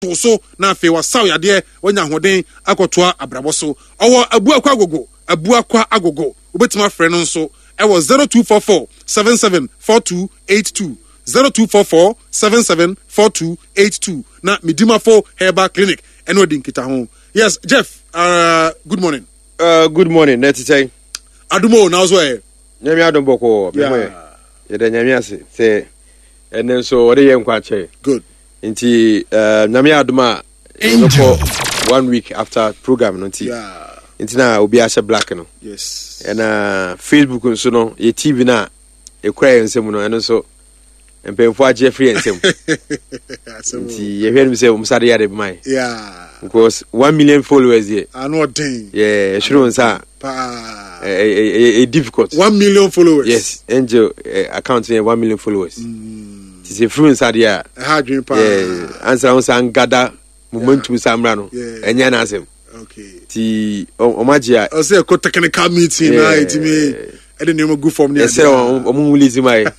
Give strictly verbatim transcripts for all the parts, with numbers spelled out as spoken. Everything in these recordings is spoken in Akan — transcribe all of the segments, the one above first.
To so na afei wasaw yadeɛ, wanya ahoɔden akɔtoa abrabɔ so. Ɔwɔ Abuakwa Agogo, Abuakwa Agogo. Wobɛtumi afrɛ no nso ɛwɔ zero two four four seven seven four two eight two, zero two four four seven seven four two eight two, na Medimafo Herbal Clinic ɛne ɔdi nkita ho. Yes, Jeff, uh, good morning. Uh, good morning, na ɛte sɛn? Adumo na ɔso ɛ. Nyame adom, bɔkɔɔ. Yeah. Mɛmɔ yɛ yɛda Nyame ase sɛ ɛnɛ nso ɔde yɛ nkwa kyɛ. Good. Nti uh, Nyame adom a, yɛbɛkɔ one week after program no, nti yeah. nti na obi ahyɛ black no. Yes ɛna Facebook nso no, yɛ T V no a ɛkura yɛn nsam no, ɛno nso mpanyinfoɔ agye afiri yɛn nsam, nti yɛhwɛ no sɛ ɔmo sa de yɛ ade bɛma yɛ yeah. because one million followers yɛ ano ɔden. Yɛ ɛhwere wɔn nsa paa. a, ɛ ɛ ɛ difficult. One million followers. Yes, Angel uh, account yɛ one million followers, ti sɛ firi nsa deɛ a, ɛha adwene paa. Yeah, ansa wɔn san gada momentum sa mmra no, Yeah. ɛnyɛ n'asɛm. Okay ti ɔmo agye a, ɔsɛ ɛkɔ technical meeting na Yeah. ɛtumi ɛde nneɛma gu fam ne. Yɛsrɛ wɔn, ɔmo release ma yɛ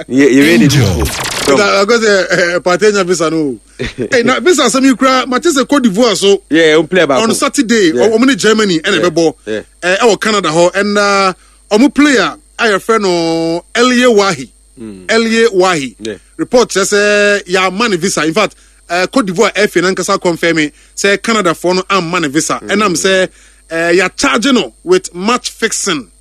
yɛ yɛ de beautiful. Akɔsɛ Partey nya visa no o. Hey, na visa asɛm yi kura mate sɛ Cote d'Ivoire so yɛ ɔmo player baako on Saturday, Yeah. ɔmo ne Germany ɛna ɛbɛbɔ Yeah. ɛ, ɛwɔ Canada hɔ, ɛna ɔmo player a yɛfrɛ no Elye Wahi, Elye Wahi, Yeah. report kyerɛ sɛ yɛama ne visa. In fact, uh, Cote d'Ivoire F A nankasa confirm sɛ Canada foɔ no amma ne visa, ɛnam sɛ uh, yɛacharge no with match fixing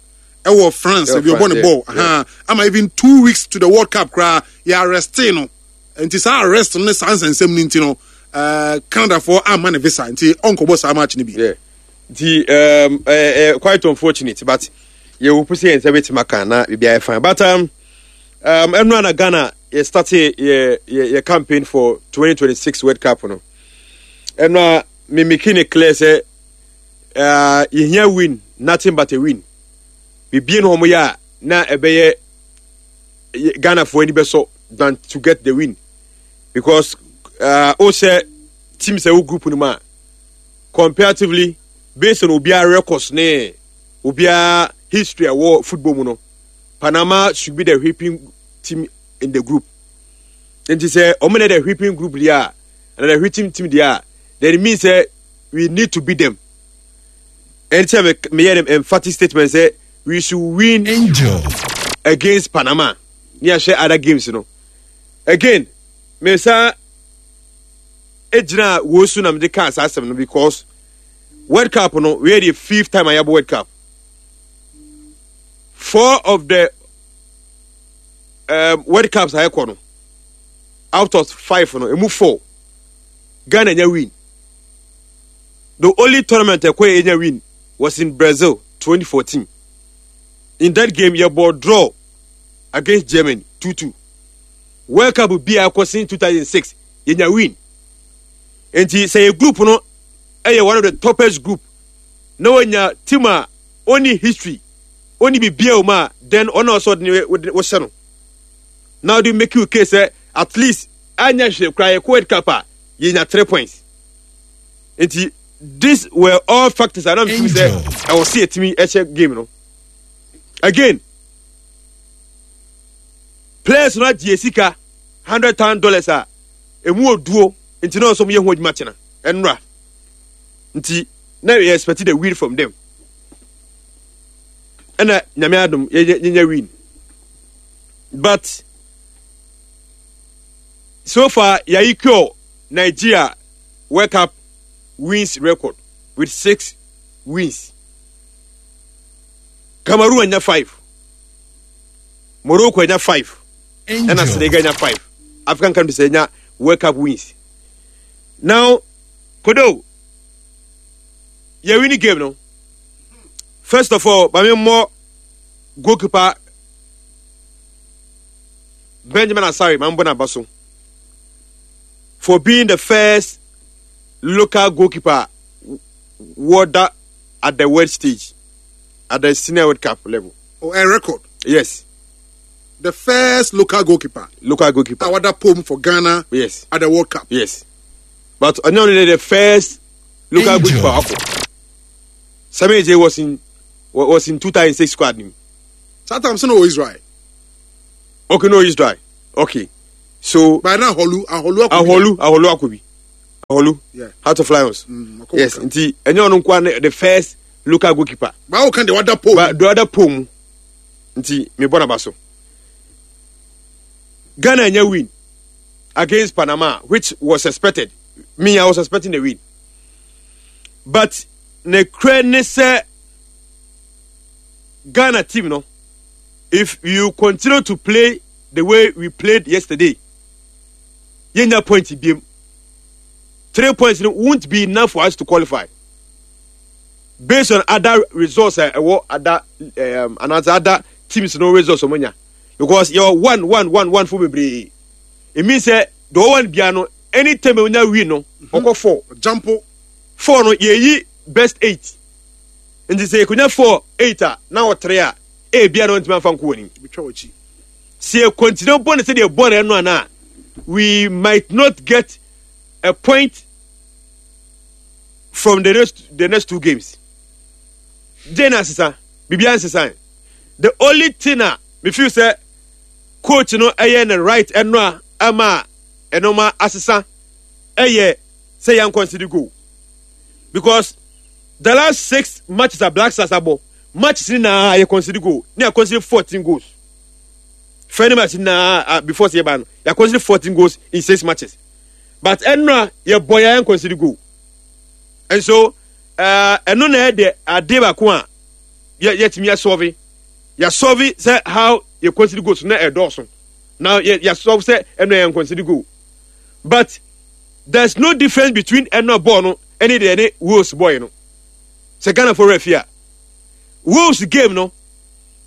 ɛwɔ France. Ɛwɔ ebi ɔbɔ ne France, ball yeah, aha ama even two weeks to the World Cup koraa yɛ arrest no. Nti saa arrest no ne saa nsɛnsɛm no nti no, uh, Canada foɔ amma ne visa, nti ɔnkɔbɔ saa match no bi. Yeah. Nti um, uh, uh, quite unfortunate, but yɛwɔ po sɛ yɛn nsa bɛtumi aka na biribi ayɛ fine, but um, um, ɛno ana Ghana yɛ start yɛ yɛ yɛ campaign for twenty twenty-six World Cup no. Ɛno a me make ne clear sɛ uh, yɛhia win, nothing but a win. Biribi no wɔn yɛ a na ɛbɛyɛ yɛ- Ghanafoɔ ani bɛsɔ than to get the win, because uh, o sɛ team sɛ wo group no mu a, comparatively, based on obiara records ne obiara history a ɛwɔ football mu no, Panama should be the whipping team in the group. Nti sɛ ɔmo na the whipping group deɛ a, and the whipping team deɛ a, then it means sɛ we need to beat them. Ɛnti sɛ me meyɛ no emphatic statement sɛ we should win Angel. against Panama ne yɛahyɛ other games no. Again, mesa egyina wo so na mede kaa saa asɛm no, because World Cup no, we are the fifth time a yɛabɔ World Cup. Four of the um, World Cups a yɛkɔ no, out of five no, emu four Ghana nya win. The only tournament ɛkɔ yɛ nya win was in Brazil twenty fourteen. In that game, yɛbɔ draw against Germany two two. World Cup bi a ɛkɔ since two thousand six, yɛnya win. Nti sɛ yɛ group no ɛyɛ one of the toughest group na wɔnya team a ɔni history, ɔni bibia wɔ mu a, then ɔna ɔsɔ ɔde ne wɔhyɛ no na ɔde make you case sɛ at least anya hwɛ kora yɛkɔ World Cup a, yɛnya three points. Nti these were all factors a na mi fi sɛ ɛwɔ si yɛtumi ɛhyɛ game no. Again, players no agye sika hundred thousand dollars a emu oduo, nti na ɔsɔ mo yɛ ho adwuma kyena ɛnura, nti na yɛ expect the win from them. Ɛna Nyame adom, yɛnyɛ yɛnyɛ win, but so far yɛayi cure Nigeria World Cup wins record with six wins. Cameroon anya five, Morocco anya five, ɛna Senegal anya five. African countries anya World Cup wins. Now kodo yɛ winning game no, first of all, maame mmɔ goalkeeper Benjamin Asare, maame bɔ n'aba so for being the first local goalkeeper wɔda at the world stage, at the senior World Cup level. Oh, a record. Yes. The first local goalkeeper. Local goalkeeper. A wada pom for Ghana. Yes. At the World Cup. Yes, but ɔnyɛ only the first local Angel. Goalkeeper akɔ. Sammy Adjei was in was in two thousand six squad nim. Saa time so no wɔ Israel. Okay, no, Israel. Okay, so by now Ahorlu Ahorlu akɔ. Ahorlu Ahorlu akɔ bi. Aholu. Yeah. Heart of Lions. Mm, wakɔ Yes, World Cup. nti ɛnyɛ ɔno nkoa ne the first local goalkeeper. Báwo kan de wada pole? But the other pole mu nti mebɔ n'aba so. Ghana nya win against Panama, which was expected. Me, I was expecting a win, but ne kura ne sɛ Ghana team no, if you continue to play the way we played yesterday, yɛnya point biem. Three points no won't be enough for us to qualify based on other results a ɛwɔ other um, anaasɛ other teams no results ɔmo nya, because yɛ one one one one fo bebree. It means sɛ the one bia no, anytime onya win no, ɔkɔ four. Jampo. Four no, yɛyi best eight, nti sɛ yɛkonya four eight a na wɔ three a, ebia no ntumi afa nko wɔ anim. Bitwa w'akyi. Sɛ yɛ continue bɔ ne sɛdeɛ bɔ no ɛno ana, we might not get a point from the next the next two games. Gye na asesa biribiara nsesa. The only thing a me feel sɛ coach no ɛyɛ ne right ɛno a ama ɛnoma asesa ɛyɛ sɛ yɛn concede goal, because the last six matches a Black Stars abɔ, matches ni na yɛ concede goal ne yɛ concede fourteen goals. Friendly match na uh, before sɛ yɛba no, yɛ concede fourteen goals in six matches, but ɛnora yɛ bɔ yɛn concede goal. And so ɛno na ɛde ade baako a yɛ yɛtumi yɛsɔve yɛsɔve sɛ how yɛ concede goals na ɛdɔɔso na yɛ yɛsɔve sɛ ɛno yɛn concede goal, but there's no difference between ɛno bɔɔl no ɛne deɛ ɛne Wales bɔɔl no. Sɛ Ghana fo refi a, Wales game no,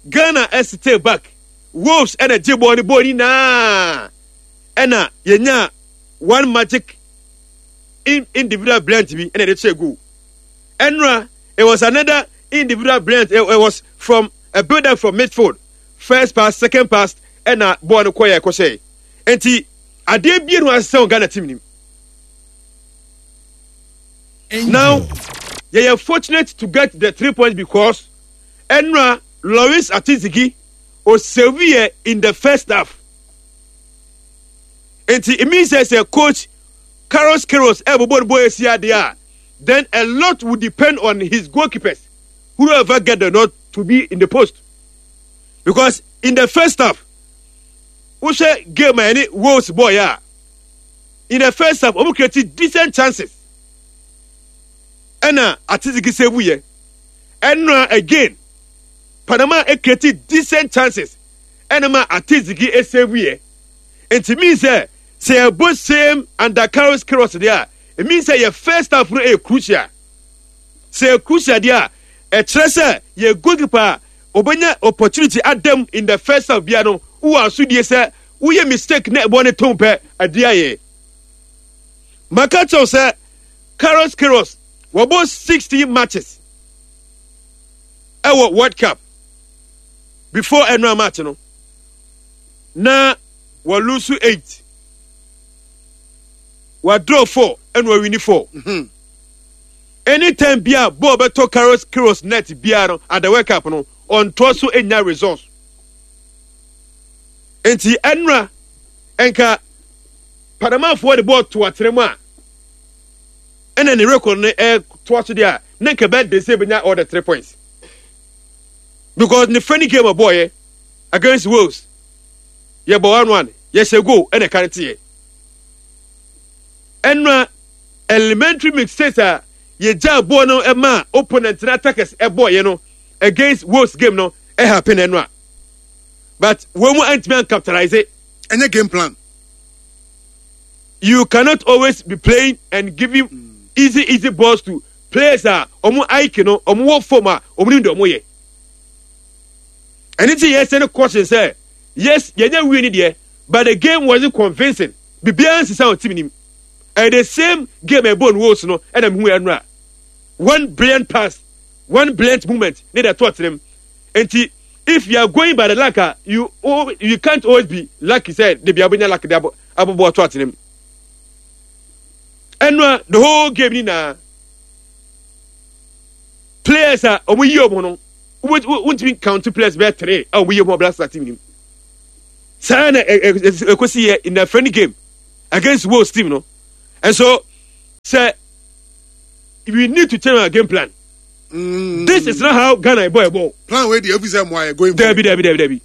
Ghana ɛstay back, Wales ɛna gye bɔɔl no bɔɔl nyinaa, ɛna yɛnya one magic in, individual brilliant bi ɛna yɛde kyerɛ goal. Ɛnora it was another individual brilliant. it, it was from a build up from midfield, first pass, second pass, ɛna bɔɔl no kɔ yɛ ɛkɔhyɛ. Nti adeɛ bie no asesa wɔ Ghana team nim. Now yɛyɛ fortunate to get the three points because ɛnora Lawrence Atizigi osave yɛ in the first half. Nti it means sɛ sɛ coach Carlos Queiroz ɛbobɔ no bɔ esi adeɛ a, then a lot will depend on his goalkeepers, whoever get the nod to be in the post, because in the first half, wohwɛ game a ɛne Wales bɔɔ yɛ a, in the first half wɔn create decent chances ɛna Atizigi save yɛ. Ɛnora again Panama create decent chances ɛna ma Atizigi save yɛ. Nti mean sɛ sɛ yɛbɔ same under Carlos Queiroz deɛ a, it means sɛ yɛ first half no ɛyɛ crucial. Sɛ yɛ crucial deɛ a, ɛkyerɛ sɛ yɛ goalkeeper a obɛnya opportunity adam in the first half bia no, wowɔ asodie sɛ woyɛ mistake na ɛbɔ ne tɔn pɛ adeɛ ayɛ. Maka kyerɛw sɛ Carlos Queiroz wɔbɔ sixteen matches ɛwɔ World Cup before ɛnora match no, na wɔlose eight, wɔadraw four, ɛna wɔwin four. Mhm. Anytime bia ball bɛtɔ Carlos Queiroz net bia no at the World Cup no, ɔntoa so enya results. Nti ɛnora nka Panamafoɔ de ball to atena mu a, ɛna ne record no ɛtoa so deɛ a, na nka bɛyɛ de sɛ ebenya all the three points, because ne friendly game a bɔɔyɛ against Wales, yɛbɔ one one, yɛhyɛ goal ɛna ɛka ne teɛ. Ɛnora elementary mistakes a yɛgya bɔɔl no ɛma opponent na attackers ɛbɔɔyɛ no against Wales game no ɛhappen ɛnora, but wɔn mu antumi ancapitalize. Ɛnyɛ game plan. You cannot always be playing and giving easy easy balls to players a ɔmo I Q no ɔmo wɔ fam a ɔmo nim deɛ ɔmo yɛ. Ɛne ti yɛ sɛ no caution sɛ yes, yɛnyɛ win ni deɛ, but the game wasn't convincing. Biribiara nsesa wɔ team nim. Ɛyɛ the same game ɛbɔ no Wales no ɛna mehu ɛnora. One brilliant pass, one brilliant movement ne deɛ ɛtɔ tenam. Nti if you are going by the luck a, you oh, you can't always be lucky sɛ de bia wobɛnya luck de abɔ abɔbɔ ato atenam. Ɛnora the whole game ni na players a wɔn yi wɔn no, wontumi count players bɛyɛ three a wɔn yi wɔn Black Stars team nim. Saa na ekosi yɛ in the friendly game against Wales team no. And so Sɛ we need to change our game plan. Mm. This is not how Ghana bɔ ball. Plan wei deɛ, efi sɛ mo ayɛ going. Dabi, dabi, dabi, dabi.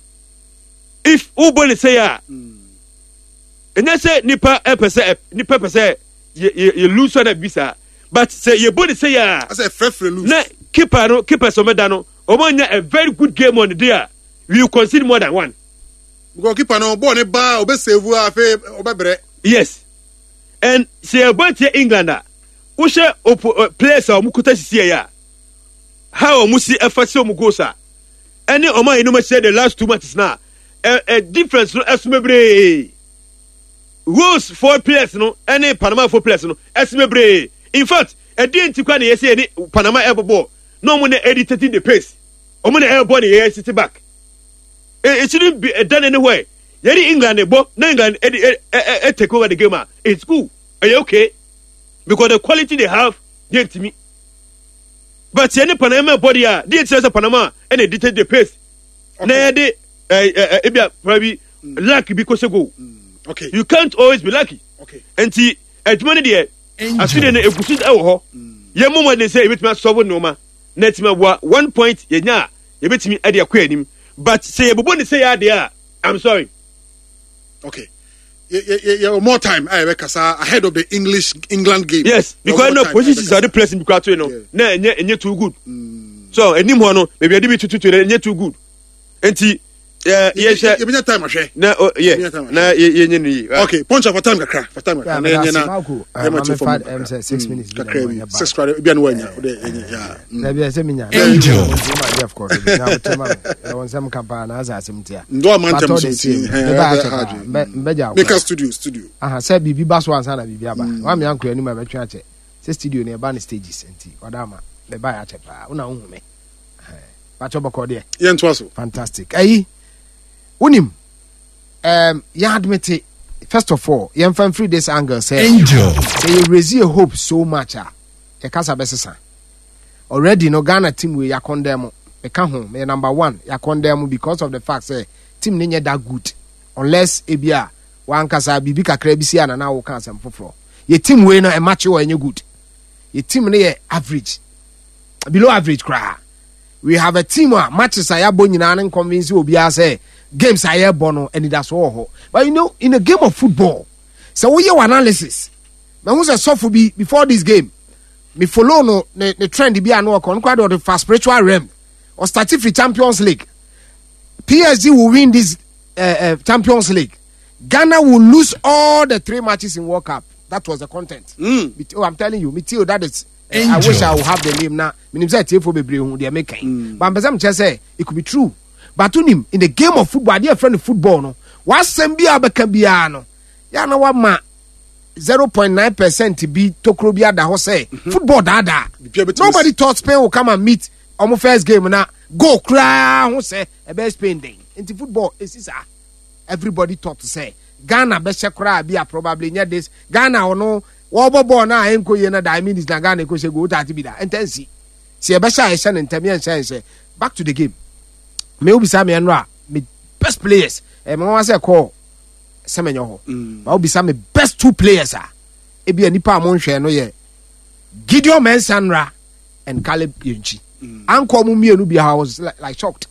If wobɔ ne sɛ a, ɛnyɛ sɛ nipa ɛpɛ sɛ nipa pɛ sɛ yɛ yɛ yɛ lose na bi saa, but sɛ yɛbɔ ne sɛ a, asɛ frɛfrɛ lose. Na keeper no, keeper sɛ ɔmɛda no, ɔmo nya a very good game on the day a, we will concede more than one. Because keeper no, bɔɔl ne ba, ɔbɛ save a, afei ɔbɛ brɛ. Yes, and sɛ yɛbɔ tie England a, wohyɛ opo uh, players a ɔmo kuta sisi yɛ a, how ɔmo si ɛfa si ɔmo goals a, ɛne ɔmo a yɛnum ahyɛ the last two matches na ɛ ɛ difference no ɛso bebree. Wales four players no ɛne Panama four players no ɛso bebree. In fact, ɛdeɛ nti kora na yɛsɛ yɛne Panama ɛbɔ bɔɔl na ɔmo na ɛdi thirty the pace, ɔmo na ɛbɔ ne yɛ sit back. It shouldn't be done anywhere. Yɛne England bɔ na England ɛde ɛ ɛ ɛ take over the game a, it's cool, ɛyɛ okay, because the quality they have deɛ ntumi. But yɛne Panama bɔ deɛ a, deɛ nkyerɛ sɛ Panama ɛna ɛdi take the pace na yɛde ɛ ɛ ebi a probably luck bi kɔ sɛ goal. Okay you can't always be lucky. Okay nti adwuma no deɛ, afei no egu so ɛwɔ hɔ. Yɛn mo mɔden sɛ yɛbɛtumi asɔbo nneɛma na ɛtumi aboa. One point yɛnya a, yɛbɛtumi ɛde akɔ anim, but sɛ yɛbobɔ ne sɛ yɛ adeɛ a, I'm sorry. Okay, yɛ yɛ yɛ more time a yɛbɛkasa ahead of the English England game. Yes, because no positions a ɔde press bi kura to yi no na ɛnyɛ ɛnyɛ too good. So anim hɔ no, baabi ɔde bi tututu no, ɛnyɛ too good. Nti yɛ yɛhwɛ. Yɛbɛnya time ahwɛ. Na o yɛ na yɛ yɛnyɛ no yie. Okay, Punch, for time kakra, for time kakra na yɛnyɛ na yɛma ti fam kakra, six minutes. Kakra bi, six kora bi a na wanya o de ɛnyɛ ya. Dabi, ɛsɛ mi nya. Angel. Ma Jeff kɔ do na wotɛ ma mi ɛwɔ nsɛm ka paa na asa asɛm tia. Ndo ama ntɛm so nti. Meba akyɛ paa, mbɛgya. Meka studio studio. Aha sɛ biribi ba so ansa na biribi aba wa mi ankɔ anim a bɛtwe akyɛ sɛ studio no ɛba ne stages, nti ɔda ama meba yɛ akyɛ paa, wona wohu me bakyɛ bɔkɔ deɛ. Yɛntoa so. Fantastic. Ayi, wonim, um, yɛn admit, first of all, yɛmfa mfiri this angle sɛ Angel. Sɛ yɛ raise a hope so much a, yɛkasa bɛsesa. Already no, Ghana team wei, yɛakɔndɛn mo, meka ho, meyɛ number one. Yɛakɔndɛn mo because of the fact sɛ team ne nyɛ that good, unless ebi a wankasa biribi kakra bi si a nana woka asɛm foforɔ. Yɛ team wei no, ɛma kye wɔ ɛnyɛ good. Yɛ team no yɛ average, below average koraa. We have a team a matches a yɛabɔ nyinaa ne convince obiara sɛ games a yɛbɔ no, anidasoɔ wɔ hɔ. But you know in a game of football, sɛ woyɛ wɔ analysis, mahu sɛ sɔfo bi, before this game, me follow no, ne ne trend bi a no ɔkɔ no koraa de, ɔde fa spiritual realm. Ɔstart firi Champions League. P S G will win this uh, uh, Champions League, Ghana will lose all the three matches in World Cup. That was the content. Mm. Oh, I'm telling you, me too, that is uh, I wish I would have the name now. Menim sɛ tiefo bebree hu deɛ meka yi, but mpɛ sɛ mekyerɛ sɛ it could be true. But wonim, in the game of football, adeɛ yɛfrɛ no football no, wasɛm bi a wobɛka biara no yɛ na wama zero point nine percent bi tokuro bi ada hɔ sɛ football daadaa. Biribiara bɛtumi. Nobody thought Spain will come and meet ɔmo first game na goal koraa ho sɛ ɛbɛyɛ Spain den. Nti football esi saa. Everybody thought sɛ Ghana bɛhyɛ koraa bi a, probably nyɛ this Ghana. Ɔno wɔbɔ bɔɔl na ɛnkɔ yie na nine minutes na Ghana ɛkɔ hyɛ goal taati bi da ntɛnsi si ɛbɛhyɛ a, yɛhyɛ ne ntɛm, yɛnhyɛ nhyɛ. Back to the game, me obisa me ɛno a, me best players, ɛmɛ wɔn asɛ kɔɔ sɛmɛnyɛ hɔ ba, obisa me best two players a, ebi a nipa a mo nhwɛ no yɛ Gideon Mensah nra and Caleb Yirenkyi. Ankɔ mu mmienu bi, I was like, like shocked.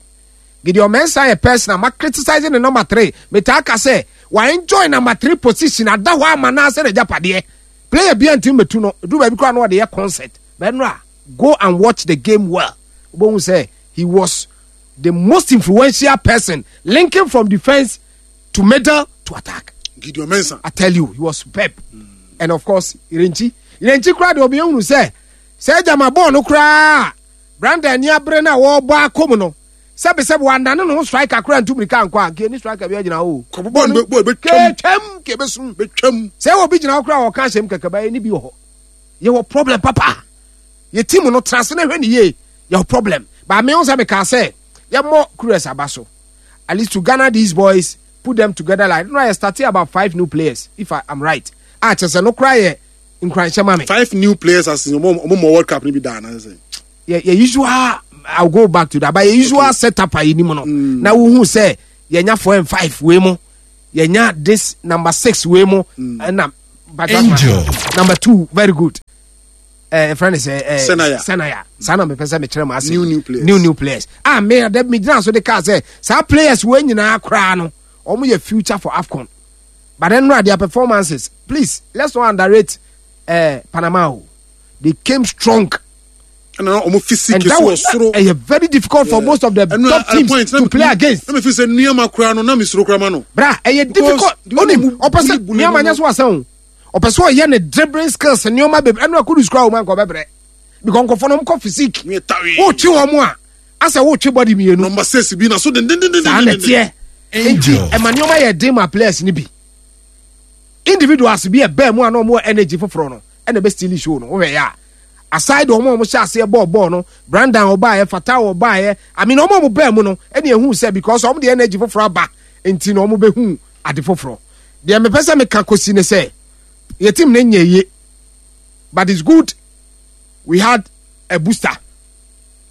Gideon Mensah yɛ person a ma criticize ne number three. Metaa ka sɛ wa enjoy number three position ada hɔ ama na asɛ n'agyapadeɛ. Player bi a ntumi metu no edu baabi koraa na ɔde yɛ concert bɛnura. Go and watch the game well, wobɛhu sɛ he was the most influential person linking from defence to middle to attack. Gideon Mensah. I tell you, he was superb. Mm. And of course, Yirenkyi. Yirenkyi koraa de, obi ehunu sɛ sɛ gyama bɔɔl no koraa, Brandon ani abere na wɔrebɔ akɔ mu no, sɛbisɛbi, wandane ne ho striker koraa ntu mirika nkɔ a, nke ni striker bi agyina hɔ o. Kɔbɔ bɔɔl no, bɔɔl bɛtwam. Ketwam kebesum. Bɛtwam. Sɛ wɔ bi gyina hɔ koraa, wɔka ahyɛm kɛkɛ ba ni bi wɔ hɔ. Yɛwɔ problem papa. Yɛ team no, tena ase na hwɛ ne yie. Yɛwɔ problem. Baame ho sɛ meka sɛ yɛmmɔ Kures aba so. At least to gather these boys, put them together, like no, I started about five new players, if I am right. Ah, kyerɛ sɛ no koraa yɛ nkuranhyɛ ma me. Five new players as in ɔmo ɔmo mɔ World Cup ni bi daa na sɛ. Yɛ yɛ usual, I will go back to that, but yɛ usual okay. setup a yɛnim no mm. na wohu sɛ yɛnya four and five wei mu, yɛnya this number six wei mu, ɛna mm. Angel. Number two, very good. Uh, friend is uh, Senaya. Senaya. Saa na mepɛ sɛ mekyerɛ mo ase. New, new players. New new players. Ah, me de me gyina so de kaa sɛ saa players wei nyinaa koraa no wɔn yɛ future for AFCON. But then no, their performances, please, let's not underrate uh, Panama. o. They came strong. Ɛna ɔmo physique And that so wɔ was soro. uh, very difficult for most of the Ɛno top at a teams point, na to me- play against. Na me fi sɛ nneɛma koraa no na me soro koraa ma no. Bra, ɛyɛ Because difficult. the way Onim, ɔmo ɔpɛ sɛ bully bully nneɛma no- nyɛ so asan o. Ɔpɛ sɛ ɔyɛ ne dribbling skills nneɛma bebree ɛnu akuru sukuu a wɔn ankɔ bɛbrɛ. Because nkɔfɔ no kɔ physique. Ne yɛ tawe. Wotwe wɔn a, asɛ wotwe body mmienu. Number six bi na so dendendenden. Saa na ɛteɛ. Nti Angel. ɛma nneɛma yɛ den ma players ni bi. Individuals bi ɛbɛn mu a na wɔn wɔ energy foforɔ no ɛna ɛbɛ steal show no wɔhwɛ yɛ a. Aside wɔn a wɔn hyɛ aseɛ bɔɔl bɔɔl no, Brandon ɔbaayɛ, Fatawu ɔbaayɛ, I mean wɔn a wɔn bɛn mu no ɛna ehu sɛ because wɔn de energy foforɔ aba nti na wɔn bɛhu ade foforɔ. Deɛ mepɛ sɛ meka kosi ne sɛ yɛ team ne nyɛ yie, but it's good we had a booster.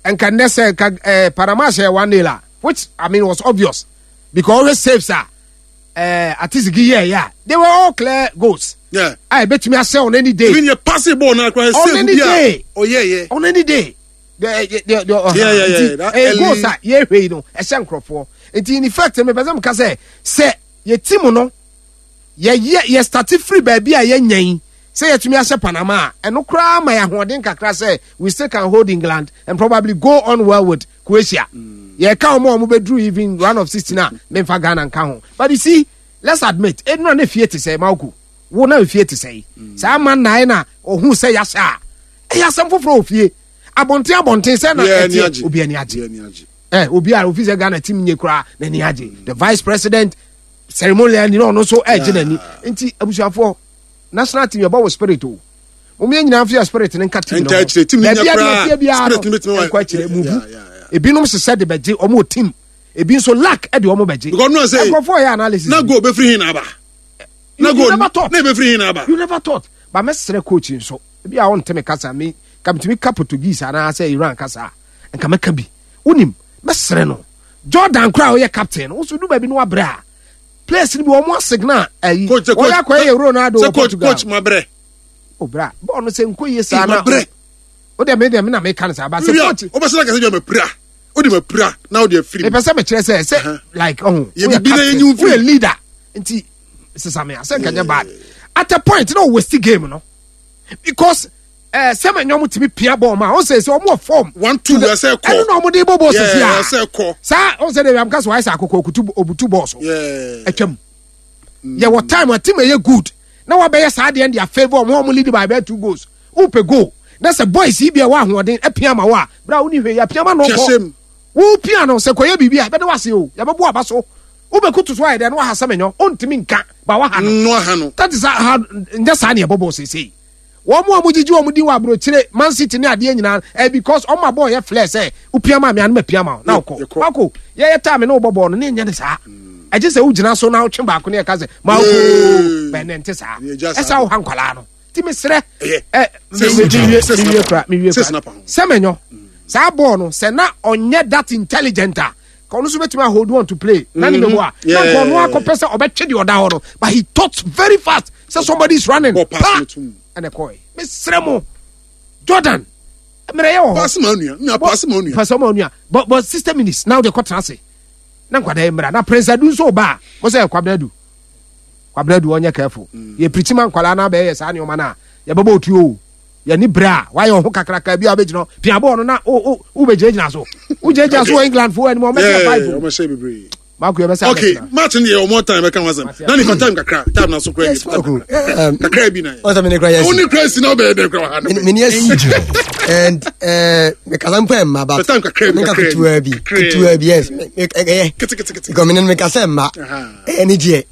Nka nnɛ sɛ nka ɛɛ Panama hyɛ one nil a, which I mean was obvious because always saves a ɛɛ Atizigi yɛ yɛ a, they were all clear goals Yeah. a ebetumi ahyɛ on any day. Even yɛ passing ball na koraa On save any bi a day. ɔyɛ yɛ. On any day. The the the uh, Yeah, yeah, yeah, that ɛyɛ early- goals a yɛhwɛ yi no ɛhyɛ nkurɔfoɔ nti in effect mepɛ sɛ meka sɛ sɛ yɛ team no yɛyɛ yɛ start firi baabi a yɛnya yi sɛ yɛtumi ahyɛ Panama a, ɛno koraa ma yɛ ahoɔden kakra sɛ we still can hold England and probably go on well with Croatia. Yɛka wɔn a wɔn bɛduru even round of sixteen a, memfa Ghana nka ho, but you see, let's admit, enura ne fie te sɛ Mauko wo na fie te sɛ yi saa ama nnan na ohun sɛ yɛahyɛ a, ɛyɛ asɛm foforɔ wɔ fie abɔnten abɔnten sɛ na Yeah, ani ɛteɛ agye. obi ani agye. Yeah, ani agye. Ɛ obi a ofi sɛ Ghana team nye koraa n'ani agye, the vice president ceremonial ni na ɔno nso ɛgye n'ani. Nti abusuafoɔ, national team yɛbɔ wɔ spirit o, mo yɛn nyinaa fi yɛ spirit ne nka team no Nka akyire, team no Baabi nya a koraa, deɛ ɛteɛ biara spirit no bɛtumi no wa- nkɔ akyire Yeah, muvu. yeah, yeah, yeah. Ebinom hyehyɛ de bɛgye ɔmo wɔ team, ebi nso luck ɛde ɔmo bɛgye. Because no say nkurɔfoɔ yɛ analysis na goal bɛfiri hin na aba. You- Na you goal never thought. na ebɛfiri hin na aba. You never thought, but mɛsrɛ coach nso ebi a ɔnte me kasa, me ka metumi ka Portuguese anaasɛ Iran kasa a nka mɛka bi. Wonim, mɛsrɛ no, Jordan koraa a ɔyɛ captain no woso du baabi no wabrɛ a, players no bi wɔn asigna ayi Coach sɛ wɔyɛ coach akɔyɛ yɛ Ronaldo sɛ wɔ coach Portugal. Coach ma brɛ. O bra, bɔɔl no sɛ nko yie saa Ma na brɛ. O deɛ me deɛ me na meka no saa ba sɛ Wia coach wobɛsɛ na kɛsɛ bi a ma pira. Wode ma pira na wode afiri mu. Mepɛ sɛ mekyerɛ sɛ sɛ Uh-huh. like ɔho Yɛ woyɛ bibi na captain, yɛnyi wo firi. woyɛ leader nti sesame a sɛ nkanyɛ bad at a point na ɔwaste game no because ɛɛ sɛmɛ nyɔm tumi pia bɔɔl ma ɔn sɛ sɛ ɔmo wɔ form. One two ɛsɛ kɔ. Ɛno na ɔmo de bɔ bɔɔl sisi Yeah, a ɛsɛ kɔ. saa ɔn sɛ de amka so wayɛ sɛ akoko okutu obutu bɔɔl so. Yeah. Atwam yɛwɔ time a team ɛyɛ good na wabɛyɛ saa deɛ de favour ɔmo ɔmo lead by about two goals, wopɛ goal na sɛ boys yi bi a wɔ ahoɔden apia ma wo a, bra wo ni hwɛ yɛ apia ma no Pia kɔ hyɛm. wo pia no sɛ kɔyɛ biribi a bɛde wase o, yɛbɛbɔ aba so wobɛkutu so ayɛ dɛ na waha sɛ menyɔ ɔntumi nka ba waha no. No aha no. That is how nyɛ saa ne yɛbɔ bɔɔl seesei. Wɔn mu a wɔgyegye wɔn din wɔ aburokyire, Man City ne adeɛ nyinaa ɛ because ɔmo abɔɔ yɛ flɛ sɛ wopia ma mi anum apia ma wo na wokɔ. Yɛkɔ. Wako yɛyɛ time ne wobɔ bɔɔl no ne nyɛ ne saa ɛgye sɛ wogyina so na wotwe baako ne yɛka sɛ ma wokɔ Yee. bɛnɛ nte saa. Yɛgya saa. Ɛsɛ wo ha nkwalaa no nti mesrɛ Ɛyɛ. ɛ Sɛ me- me- snap- mewie sɛ mewie snap- kora mewie sɛ kora snap ho. sɛ mɛnyɔ saa bɔɔl no sɛ na ɔnyɛ that intelligent a ka ɔno nso bɛtumi a hold on to play na ne mɛbɔ a na Yeah. nka ɔno akɔpɛ sɛ ɔbɛtwe deɛ ɔda hɔ no, but he thought very fast sɛ somebody is running. Bɔ pass Pa! no to mu. Ɛna ɛkɔɛ. Mesrɛ mo, Jordan mmerɛ yɛ wɔ hɔ. Pass ma onua. Nua pass ma onua. Pass ma onua, but but sixty minutes na wode kɔtena ase na nkwadaa yi mmra na Prince Adu nso ba a mo sɛ Kwabena Adu, Kwabena Adu ɔnyɛ careful. Yɛ pirikyi ma nkwadaa na abɛyɛ saa nneɛma no a yɛbɛbɔ otuo o. Yɛni brɛ a wayɛ ɔho kakraka bi a wobɛgyina hɔ pia bɔɔl no na wo- wo- wobɛgyinagyina so, wogyinagyina so wɔ England foɔ anim ɔmɛsɛ Yeah, five o. ɔmɛhyɛ bebree. Maako yɛbɛsɛ Okay, abɛtena. match no yɛ ɔmɔ time bɛka ho asɛm. Na nifa time kakra, time na so kora Yes, bi. Marco. Um, Kakra bi na yɛ. Ɔsɛ mene kora yɛ Wo asi. ne kora si na wobɛyɛ dɛ kora wɔ ha no. Mene asi. Angel. And uh, mekasa mpo ɛmma but The time kakra bi, menka kakra bi. ketewa bi. Kakra bi. Ketewa bi, yes. Me- me- ɛyɛ. Kete kete kete. Because mene no mekasa mma. Aha. Ɛyɛ ne gyeɛ.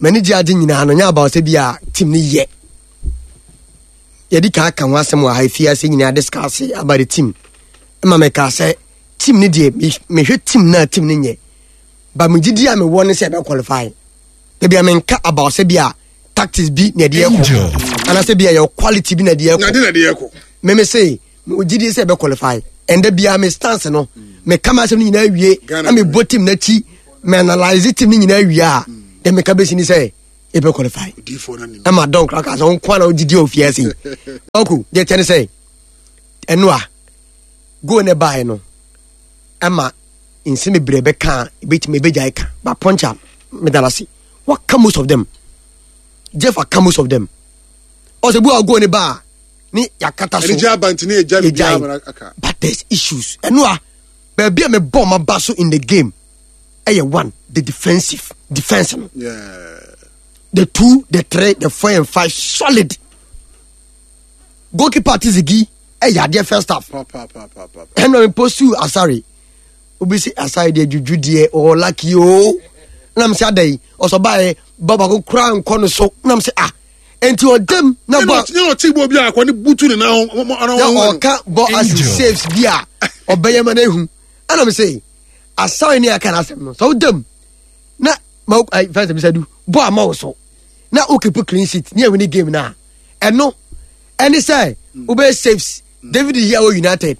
M'ani gye ade nyinaa no nyɛ about sɛ bi a team no yɛ. Yɛdi ka aka ho asɛm wɔ ha fie ase nyinaa discuss about the team. Ɛma meka sɛ team no deɛ me- mehwɛ team no a team no nyɛ. But megye di a mewɔ ne sɛ ɛbɛ qualify. Ebi a menka about sɛ bi a tactics bi na ɛde ɛkɔ. Angel. Anaasɛ bi a yɛ quality bi na ɛde Na ɛkɔ. de na de yɛ kɔ. Meme se megye di sɛ ɛbɛ qualify. Ɛndɛ biara me stance no meka ma asɛm no nyinaa wie Ghana na mebɔ team n'akyi, me analyse team no nyinaa wie a, then meka bɛsi ni sɛ Yɛbɛ qualify. Ɛma dɔn kora ka sɛ wo nkoa na wogyidi ofie ase. Ɔko deɛ kyɛ ne sɛ ɛno a goal ne baeɛ no ɛma nsɛm bebree bɛka a ebɛtumi ebɛgyae ka, but punch a meda no ase, waka most of them. Jeff aka most of them. Ɔsɛ bu a goal ne ba a ne yakata so ɛne gye aba nti ne yɛgya biribiara ma aka. But there's issues. Ɛno a baabi a mebɔ ma ba so in the game ɛyɛ one, the defensive defense no. Yeah. The two, the three, the four and five, solid. Goalkeeper Tizigi ɛyɛ adeɛ first half. Pa pa pa pa pa. Ɛna mi postu Asare, obi si Asare deɛ juju deɛ ɔwɔ lucky o, ɛna mi sɛ ada yi ɔsɔ baayɛ ba baako kura nkɔ no so, ɛna mi sɛ ah, nti ɔdɛm na bɔ ne ɔte bɔ bi a akɔ ne butu ne nan ho na ɔka bɔ asi saves bi a ɔbɛyɛ ma n'ehu, ɛna mi sɛ Asare ne aka n'asɛm no sɛ ɔdɛm na ma ayi fɛn sɛ bisa du bɔ ama wo so na o keep clean sheet ne ɛwin game na ɛno ɛne sɛ wobɛyɛ saves. David yi a wɔ United,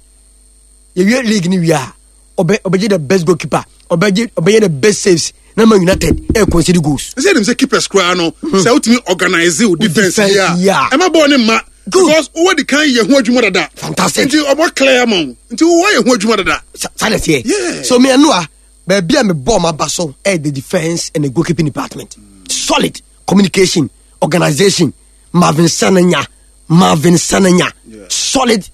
yɛwie league ni wie a, ɔbɛ ɔbɛgye the best goalkeeper, ɔbɛgye ɔbɛyɛ the best saves na ma United ɛ concede goals. Sɛ ɛnim sɛ keepers koraa no, sɛ wotumi organise wo defense defense yi a yi a, ɛma bɔɔl ne mma. Good. Because wowɔ di kan yɛ ho adwuma dada. Fantastic. Nti ɔbɔ clear ma wo, nti wowɔ yɛ ho adwuma dada. Sa saa na ɛteɛ. Yeah. So mi ɛno a baabi a mi bɔ ɔmo aba so ɛyɛ the defence and the goalkeeping department. Solid communication, organisation. Marvin Sananya, Marvin Sananya. Yeah. Solid.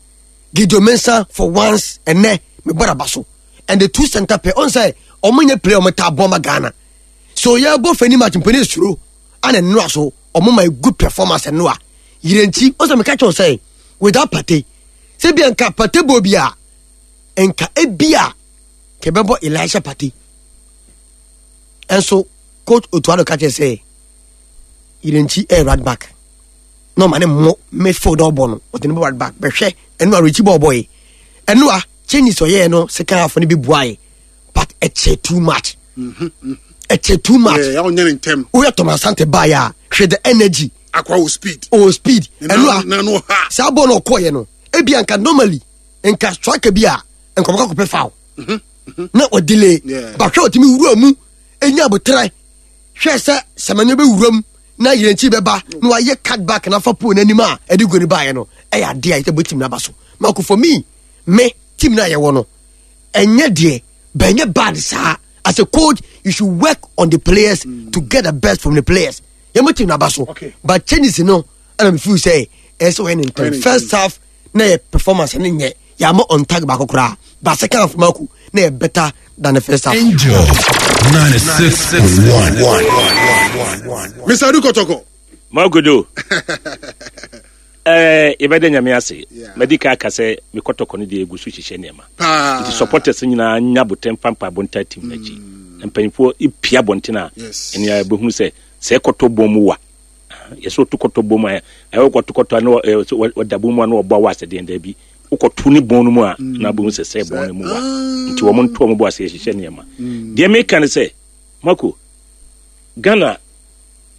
Gideon Mensah for once ɛnɛ mi bɔ n'aba so, and the two center pair ɔn sɛ ɔmo nyɛ player ɔmo ta bɔ ma Ghana so yɛ bɔ fɛni match mpɛni esuro ana nnura so ɔmo ma a good performance. Nnura yirenkyi ɔsɛ mi ka kyerɛw sɛ without Partey, sɛ bi nka Partey bɔ bi a, nka ebi a kɛbɛbɔ Elisha Partey. Ɛnso coach Otuado ka kyerɛ sɛ yirenkyi ɛyɛ right back na ɔma ne mmɔ midfield, ɔbɔ no ɔde ne bɔ right back. Bɛhwɛ ɛnu a rekyi bɔ ɔbɔ yi, ɛnu a changes ɔyɛɛ no second half no bi bua yi, but ɛkyɛ too much, ɛkyɛ too much. Yeah, ɔnyɛ ne ntɛm. Woyɛ Thomas Asante baayɛ a, hwɛ the energy. Akwa wo speed. O speed. Ne ɛnu nan a nan no ha. Saa bɔɔl no ɔkɔɔyɛ no, ebi anka normally nka striker bi a nkɔmɔkɔ kɔpɛ foul na ɔdelay. Yeah. But hwɛ, ɔtumi wura mu enya abotire, hwɛ sɛ sɛmɛnyo bɛ wura mu na yɛrɛnkyi bɛba na wayɛ cut back na afa pole n'anim a ɛde goal no baayɛ no, ɛyɛ adeɛ a yɛsɛ bɔ team n'aba so. Mako, for me me team na yɛwɔ no ɛnyɛ deɛ bɛnyɛ bad saa. As a coach, you should work on the players mm. to get the best from the players. Yɛn mo team n'aba so. Okay. But changes no, ɛna mi feel sɛ ɛsɛ wɔyɛ ne Ɔyɛ ne ntɛm. First half na yɛ performance ne nyɛ yɛama on tag baako koraa, but second half mako na yɛ better than the first half. Angel ninety-six point one. Mister Adu Kotoko. Magodo, ɛɛ yɛbɛda Nyame ase. Yeah. Madi ka aka sɛ me Kɔtɔkɔ no deɛ ɛgu so hyehyɛ nneɛma. Paa. Nti supporters nyinaa nya abotɛm pampa abɔnta team n'akyi. Mpanyinfoɔ ipia abɔnten a Yes. ɛne a yɛbɛhunu sɛ sɛ ɛkɔtɔ bɔn mu wa yɛsɛ ɔto kɔtɔ bɔn mu a ɛyɛ wokɔto kɔtɔ a na wɔ- ɛɛ, sɛ wɔ- wɔda bɔn mu a na wɔbɔ awɔ asɛdeɛ daabi, wokɔto ne bɔn no mu a na abɛhu sɛ sɛ bɔn no mu wa. Nti wɔn nto wɔn bɔ ase yɛhyehyɛ nneɛma. Deɛ meka ne sɛ mako Ghana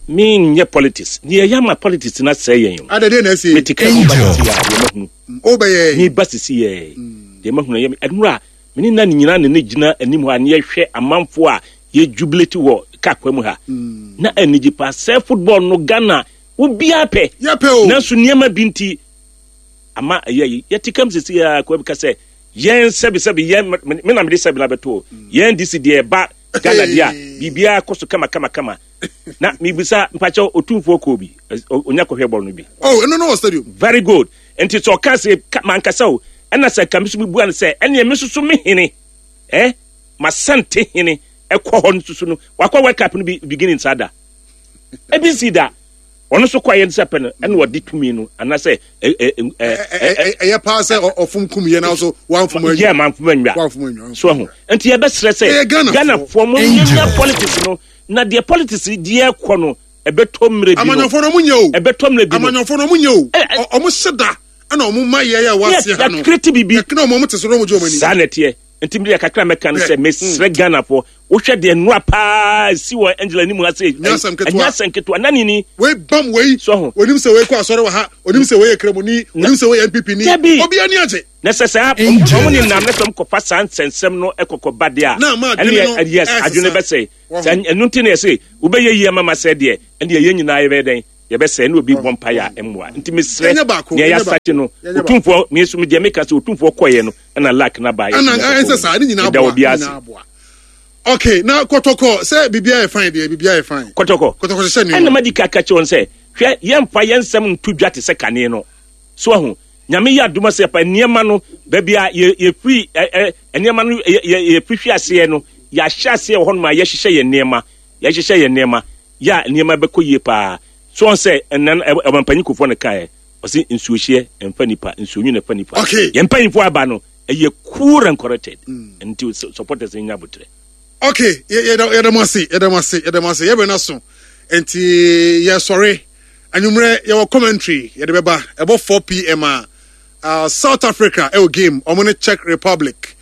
menyɛ politics deɛ ɛyɛ ama politics na sɛe yɛn o. Adade na ɛsi. Mete ka mu ba sisi yɛ a deɛ mahunu Wobɛyɛ. Mi ba sisi yɛ deɛ mahunu yɛ ɛnura mene na ne nyinaa ne ne gyina anim hɔ a ne yɛhwɛ amanfoɔ a yɛ jubilate wɔ kaa kwan mu ha na anigye paa sɛ football no Ghana obiara pɛ. Yɛpɛ o. Nanso nneɛma bi nti ama ɛyɛ yi yɛte kam sisi yɛ akɔ bi ka sɛ yɛn sɛbisɛbi yɛn me me na mede sɛbi na bɛto o yɛn D C deɛ ɛba Ghana deɛ a biribiara kɔ so kama kama kama. Na mibisa mpakyɛw, Otumfoɔ kɔɔ bi ɛ, onya kɔhwɛ bɔɔl no bi? Oh, ɛno no wɔ stadium. Very good. Nti sɛ ɔka sɛ ka- mankasa o, ɛna sɛ ka me so mebua no sɛ ɛneɛ me soso me hene eh masante hene ɛkɔ hɔ no soso no wakɔ World Cup no bi beginning saa da ebi nsi da ɔno nso kɔ ayɛ no sɛ pɛ no ɛna ɔde tumi no anaasɛ ɛ- ɛ- ɛ- ɛ- Ɛ- ɛ- ɛyɛ paa sɛ ɔ- ɔfom kum yɛ na so wamfom anwa. Yɛ manfom anwa. Wamfom anwa. So ho nti yɛbɛsrɛ sɛ Ɛyɛ Ghanafoɔ. Ghanafoɔ mo nyanya politics no na deɛ politics deɛ kɔ no ɛbɛtɔ mmerɛ bi no. Amanyɔfoɔ no ɔmo nyɛ o. Ɛbɛtɔ mmerɛ bi no. Amanyɔfoɔ no ɔmo nyɛ o. Ɛ- ɛ- Ɔ- ɔmo hyɛ da ɛna ɔmo ma yɛ yɛ wɔ aseɛ ha no. Yɛkreti biribi. Yɛkena ɔmo ɔmo te so na ɔmo gye ɔmo ani. Saa na ɛteɛ. Nti mede kakra mɛka no sɛ Yeah. mesrɛ Ghanafoɔ Wohwɛ deɛ nnora paa si wɔ Angela anim ha sɛ Nyɛ asɛm ketewa. ɛnyɛ asɛm ketewa na nini. Wei bam wei. So ho. Onim sɛ wei kɔ asɔre wɔ ha, onim sɛ wei yɛ kramoni, onim sɛ wei yɛ N P P ni. Dabi. Obi ani agye. Na sɛ saa ɔmo ne nam na sɛ ɔmo kɔfa saa nsɛnsɛm no ɛkɔkɔba deɛ a Na ama adwene ɛne no yɛ- yes, ɛsesa. adwene bɛsɛe. Wɔho. Sɛ ɛno nti na yɛsɛ wobɛyɛ yie ama ma sɛ deɛ ɛne yɛn nyinaa yɛbɛyɛ dɛn, yɛbɛsɛe ne obi bɔ mpaeɛ a ɛmmoa. Nti mesrɛ Yɛnyɛ baako, nea yɛnyɛ yɛasakye no, yɛnyɛ baako. Otumfoɔ me nso deɛ meka sɛ Otumfoɔ kɔeɛ no ɛna luck na baeɛ. Ɛna ɛnsɛ saa ne nyinaa Meda aboa, obi ne ase. nyinaa aboa. Okay, na Kɔtɔkɔ sɛ biribiara yɛ fine deɛ, biribiara yɛ fine. Kɔtɔkɔ. Kɔtɔkɔ hyehyɛ ɛna nneɛma. Madi ka ka kyerɛ wɔn sɛ hwɛ, yɛmfa yɛn nsɛm nto dwa te sɛ kane no so ahu. Nyame yɛ adom sɛ pa nneɛma no baabi a yɛ- yɛfiri ɛ- ɛ- nneɛma no yɛ- yɛ- yɛfiri hwe aseɛ no, yɛahyɛ aseɛ wɔ hɔnom a yɛhyehyɛ yɛn nneɛma, yɛhyehyɛ yɛn nneɛma yɛ a nneɛma bɛkɔ yie paa so wɔn sɛ ɛnan ɔmampanyin Kofoɔ no kaeɛ, ɔsi nsuohyeɛ ɛmfa nipa, nsuonwi na ɛfa nipa. Okay. Yɛn mpanyinfoɔ aba no ɛyɛ cool and corrected, nti supporters nya abotire. Okay, yɛ- yɛda yɛda mo ase, yɛda mo ase, yɛda mo ase. Yɛbɛn no so nti yɛsɔre anwummerɛ, yɛwɔ commentary yɛde bɛba. Ɛbɔ four p m a uh, South Africa ɛwɔ game, ɔmo ne Czech Republic,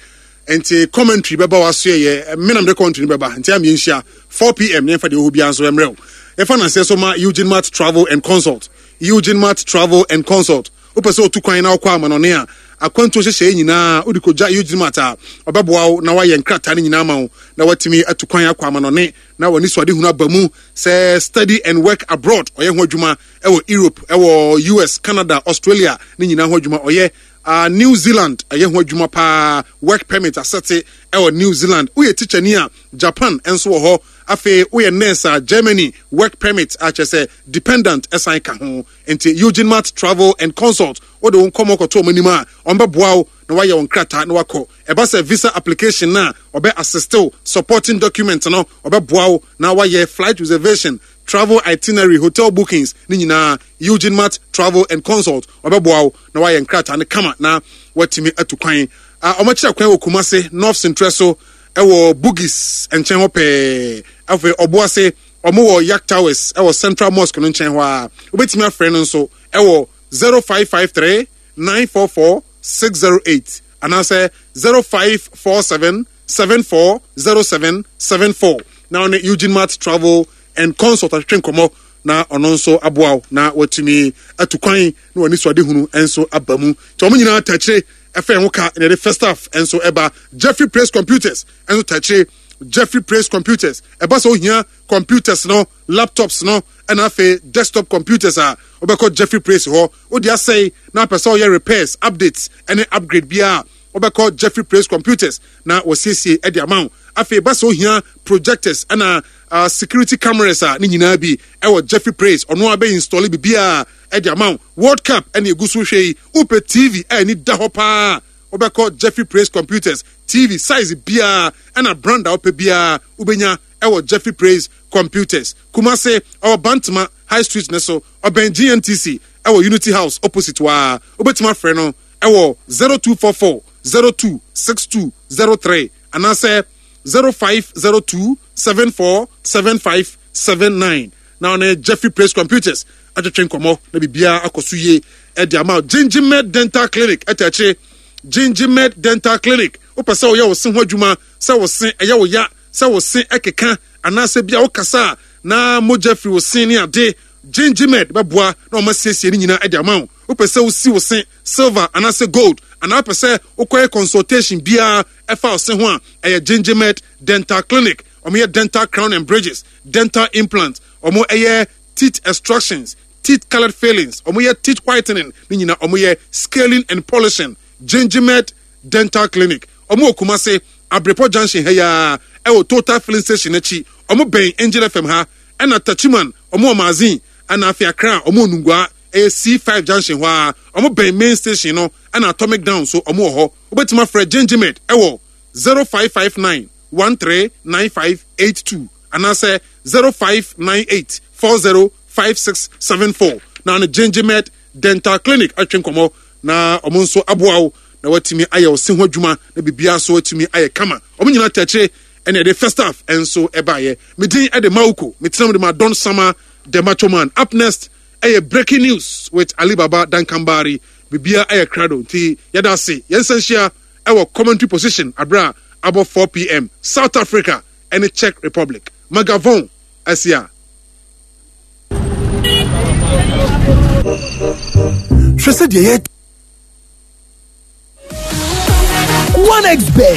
nti commentary bɛba waso. Yɛ menam de commentary no bɛba, nti am yɛnhyia four p m ne yɛmfa deɛ ɛwɔ hɔ biara nso ɛmmerɛ wo. Yɛfa nanseɛ so ma Eugene Mart Travel and Consult. Eugene Mart Travel and Consult, wopɛ sɛ wotu kwan na wokɔ amanɔne a, akwantuo hyehyɛeɛ nyinaa wode kɔgya Eugene Mart a, ɔbɛboa wo na woayɛ nkrataa no nyinaa ma wo na woatumi atu kwan akɔ amanɔne na w'ani so ade hunu aba mu. Sɛ study and work abroad, ɔyɛ ho adwuma ɛwɔ Europe, ɛwɔ U S, Canada, Australia ne nyinaa ho adwuma ɔyɛ. uh, New Zealand ɛyɛ ho adwuma paa, work permit asɛte ɛwɔ New Zealand. Woyɛ tikyani a, Japan nso wɔ hɔ. Afei woyɛ nurse a, Germany work permit akyɛ sɛ dependent ɛsan ka ho. Nti Eugene Mart Travel and Consult, wode wo nkɔmmɔ kɔto ɔmo anim a, ɔmbɛboa wo na wayɛ wo nkrataa na wakɔ. Ɛba sɛ visa application na ɔbɛ assist wo, supporting document no ɔbɛboa wo na wayɛ flight reservation, travel itinerary, hotel bookings ne nyinaa. Eugene Mart Travel and Consult ɔbɛboa wo na wayɛ nkrataa no kama na watumi atu kwan. Ah, ɔmakyerɛ kwan wɔ Kumase North Central so, ɛwɔ Bugis nkyɛn hɔ pɛɛ. Afei Ɔboase, ɔmo wɔ Yak Towers ɛwɔ Central Mosque no nkyɛn hɔ a, wobɛtumi afrɛ no nso ɛwɔ zero five five three nine four four six zero eight anaasɛ zero five four seven seven four zero seven seven four na ɔne Eugene Mart Travel and Consult atwetwe nkɔmmɔ na ɔno nso aboa wo na watumi atu kwan na w'ani so ade hunu nso aba mu. Nti ɔmo nyinaa takyire ɛfɛ ho ka na yɛde first half nso ɛba. Jeffrey Praise Computers nso takyire. Jeffrey Praise Computers, ɛba sɛ ohia computers no, laptops no, ɛna afei desktop computers a, wobɛkɔ Jeffrey Praise hɔ. Wode asɛe na apɛ sɛ ɔyɛ repairs, updates ɛne upgrade biara, wobɛkɔ Jeffrey Praise Computers na wɔsiesie ɛde ama wo. Afei ba sɛ ohia projectors ɛna uh, security cameras a, ne nyinaa bi ɛwɔ Jeffrey Praise. Ɔno a bɛ install biribiara ɛde ama wo. World Cup ɛne egu so hwɛ yi, wopɛ T V a ani da hɔ paa, wobɛkɔ Jeffrey Praise Computers. T V size biara ɛna brand a wopɛ biara wobɛnya ɛwɔ Jeffrey Praise Computers. Kumase, ɔwɔ Bantama High Street ne so, ɔbɛn G N T C, ɛwɔ Unity House opposite waa. Wobɛtumi afrɛ no ɛwɔ zero two four four zero two six two zero three anaasɛ zero five zero two seven four seven five seven nine na ɔne Jeffrey Praise Computers atwetwe nkɔmmɔ na biribiara akɔ so yie ɛde ama wo. Gingimed Dental Clinic ɛtɛ akyire. Gingimed Dental Clinic, wopɛ sɛ woyɛ wo se ho adwuma, sɛ wo se ɛyɛ wo ya, sɛ wo se ɛkeka, anaasɛ bia wokasa a na mogya firi wo se ne ade, Gingimed bɛboa na ɔma siesie no nyinaa ɛde ama wo. Wopɛ sɛ wosi wo se silver anaasɛ gold, anaa wopɛ sɛ wokɔyɛ consultation biara ɛfa wo se ho a, ɛyɛ Gingimed Dental Clinic. Ɔmo yɛ dental crown and bridges, dental implant, ɔmo ɛyɛ teeth extractions, teeth colored fillings, ɔmo yɛ teeth whitening ne nyinaa, ɔmo yɛ scaling and polishing. Gingimed Dental Clinic, ɔmo wɔ Kumase Abrepɔ Junction ha yaa, ɛwɔ Total Filling Station akyi. Ɔmo bɛn Angel F M ha. Ɛna Tachiman, ɔmo wɔ Mazin. Ɛna afei Accra, ɔmo wɔ Nungua, ɛyɛ C five junction hɔ a, ɔmo bɛn main station no. Ɛna Atomic Down so ɔmo wɔ hɔ. Wobɛtumi afrɛ Gingimed ɛwɔ zero five five nine one three nine five eight two anaasɛ zero five nine eight four zero five six seven four na ne Gingimed Dental Clinic atwe nkɔmmɔ na ɔmo nso aboa wo na watumi ayɛ wo se ho adwuma na biribiara so atumi ayɛ kama. Ɔmo nyinaa tɛkyerɛ ɛna ɛde first half ɛnso ɛbaayɛ. Medin ɛde Mawuko, metena mu de ma Don Sama the Macho Man. Up next ɛyɛ Breaking News with Alibaba Dankambari. Biribiara ɛyɛ krado, nti yɛda ase. Yɛnsa nhyia ɛwɔ commentary position abere a abɔ four p m. South Africa. ɛne Czech Republic. Magavon asia. Hwɛ sɛ deɛ yɛ. One X Bet.